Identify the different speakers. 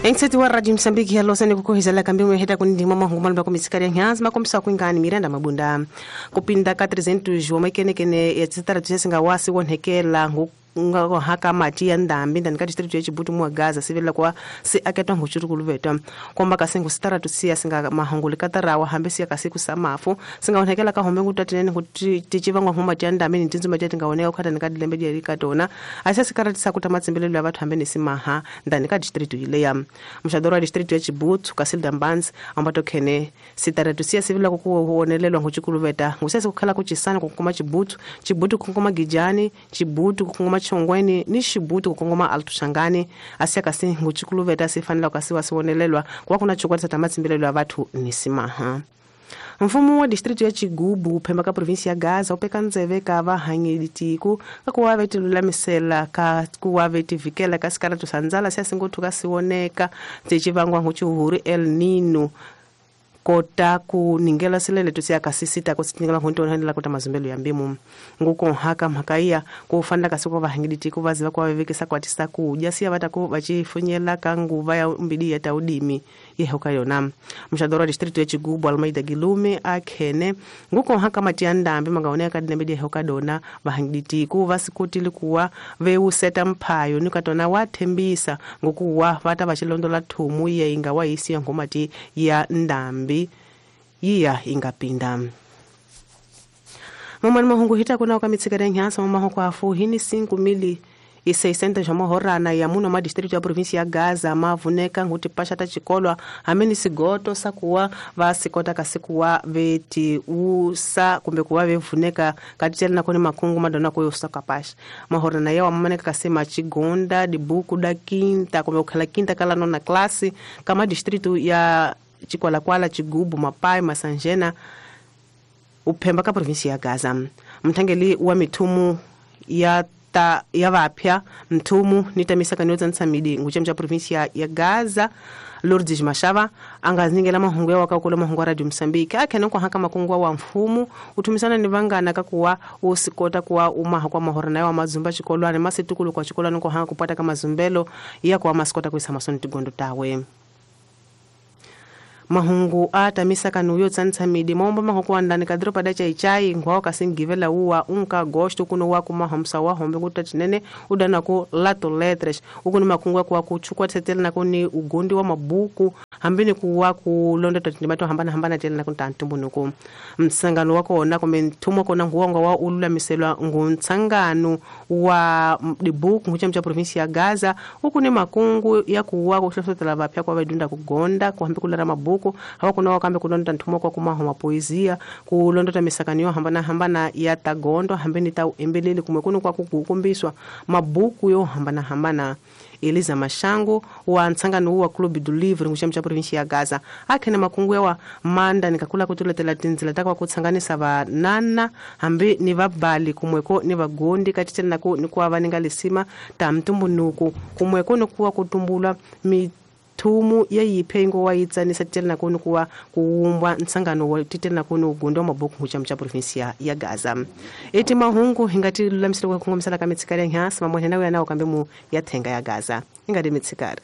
Speaker 1: Engiseti wa Radio Msambiki ya Losani kukuhizela kambi mweheta kunindima mahungu malumba kumitsikari ya nyanzi makombisa kuingani Miranda Mabunda kupinda ka 300 wa makenekene ya tsitara tsesinga wasi wonhekela nga haka mati ya ndambi ndani ka district ya Chibutu mwa Gaza sivela kwa si aketwa nguchuru kuluveta komba kasingu sitara tusiya singa mahungu likatarawa hambe siya kasiku samafu singa onhekela ka hombe ngutatinene kuti tichivangwa huma ya ndambi ni tinzuma tya tingaoneka kukhata ni ka dilembe diya likatona asiya sikaratisa kuta matsimbelelo ya vathu hambe ni simaha ndani ka district ileya mshadoro wa district ya Chibutu Kasilda Mbanzi ambato khene sitara tusiya sivela kukuonelelwa nguchikuluveta ngusese kukhala kuchisana kukuma Chibutu Chibutu kukuma Gijani Chibutu kukuma Chongweni ni Chibutu kukongoma Altushangani asiya kasi nguchikuluveta sifanela kasi wasiwonelelwa kwa kuna chukwatisa tamatsimbelelo ya vathu ni simaha. Mfumo wa district ya Chigubu phemba ka province ya Gaza upeka ndzeve ka vahangelitiku ka kuwa vetilulamisela ka kuwa vetivikela ka sikaratu sandzala siya singothuka siwoneka tsechivangwa nguchihuhuri El Nino kota ku ningela silele tusiya kasisita kusitingela ngonto kuta mazumbelo ya mbimu nguko haka makaiya kufanda kasiko vahangiliti kuvaziva kwa vevekesa kwatisa kudya siya vatako vachifunyela kanguva ya mbidi ya taudimi yehoka yona mshadoro wa district ya Chigubu Almeida Gilume akhene nguko haka matiya ndambi mangaoneka kadinembedi yehoka dona vahangiliti kuvasikutili kuwa veuseta mphayo nikatona wathembisa ngokuwa vata vachilondola thumu ye inga waisiya ngomati ya ndambi iya ingapinda. Mamani mahungu hita kuna okamitsikere nyansa mamaho kwa afu hini 5,600 jamahorana ya muno ma district ya province ya Gaza mavuneka nguti pasha ta chikolwa hameni sigoto sakuwa vasikota kasikuwa veti usa kumbe kuwa vevuneka katitela nakoni makungu madona kuyo usaka pasha mahorana yawa mamaneka kasema chigonda dibuku da quinta kumbe ukhala quinta kala nona klasi kama district ya Chikwalakwala Chigubu Mapai Masanjena uphemba ka province ya Gaza. Mthangeli wa mithumu ya ta ya vapya mthumu nitamisa kanyo tsamidi nguchemcha province ya Gaza Lourdes Mashava angazingela mahungu ya wakakula mahungu ya Radio Msambiki akhene kwa haka makungu wa mfumu uthumisana ni vangana kakuwa usikota kuwa umaha kwa mahorana ya mazumba chikolwane masitukulu kwa chikolwane kwa haka kupata kama zumbelo ya kwa masikota kuisa masoni tigondo tawe. Mahungu atamisa kanuyo tsanitsamidi momba mahuku andani kadropa da chai ngwao kasingivela uwa unka gosto kuno wa kumahomsa wa hombe kutatinene udana ku lato letras ukuni makungu kwa kuchukua tetela na kuni ugondi wa mabuku hambini kuwa kulonda tatindimato hambana hambana tela na kuntantumbunuku msangano wako ona kumentumwa kona nguongo wa ulula miselwa nguntsangano wa dibuku nguchamcha province ya Gaza ukuni makungu ya kuwa kuhlosotela vapya kwa vadunda kugonda kuhambi kulara mabuku hawa kuna wakambe kulonda ntumo kwa kumaho mapoezia kulonda misakaniyo hambana hambana ya tagondo hambeni ta embelele kumwekunu kwa kukumbiswa mabuku yo hambana hambana. Eliza Mashango wa ntsangano wa Clube do Livro nguchamcha province ya Gaza akhene makungu yawa manda nikakula kutuletela tinzila takwa kutsanganisa vanana hambi ni vabali kumweko ni vagondi katitela nako ni kuwa vaninga lisima ta mtumbunuku kumweko ni kuwa kutumbula thumu ya yiphengo wa yitsanisa titela nakoni kuwa kuumbwa ntsangano wa titela nakoni ugondo wa mabuku nguchamcha province ya Gaza. Eti mahungu hingati lulamisela kwa kungomisela ka mitsikari ya nyansi mamwene nawe yanao kambe mu ya thenga ya Gaza ingati mitsikari.